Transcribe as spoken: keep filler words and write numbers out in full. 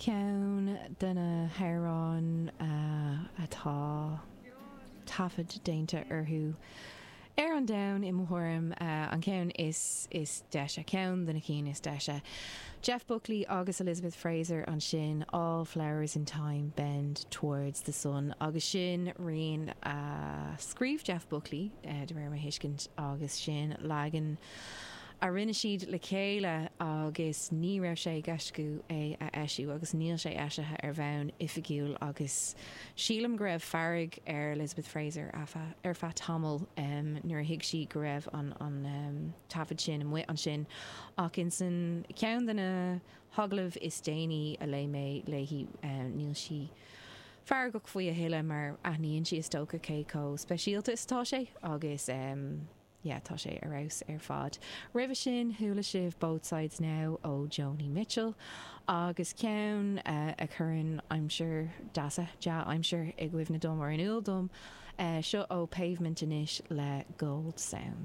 Ceann de na hamhráin atá taifead déanta orthu ar an domhan i mo thuairim an ceann is is deise ceann de na cinn is deise. Jeff Buckley agus Elizabeth Fraser ansin All Flowers in Time Bend Towards the Sun agus sin rian a scríobh Jeff Buckley de réir mo thuiscint agus sin leagan a rinne siad le chéile agus ní raibh sé i gceist acu é a eisiú agus níl sé eisithe ar bhonn oifigiúil agus sílim go raibh fearg ar Elizabeth Fraser ar feadh tamaill um, nuair a thuig sí go raibh an, an um, taifead sin amuigh ansin ach in san ceann de na hagallaimh is déanaí a léigh mé léi um, níl sí feargach faoi a thuilleadh mar aithníonn sí is dócha cé chomh speisialta is atá sé agus um, yeah, tá sé ar fheabhas ar fad. Roimhe sin chuala sibh Both Sides Now ó Joni Mitchell agus ceann uh, a chuireann aimsir deasa dea-aimsir i gcuimhne dom ar in iúl dom uh, seo ó Pavement anois le Gold Sound.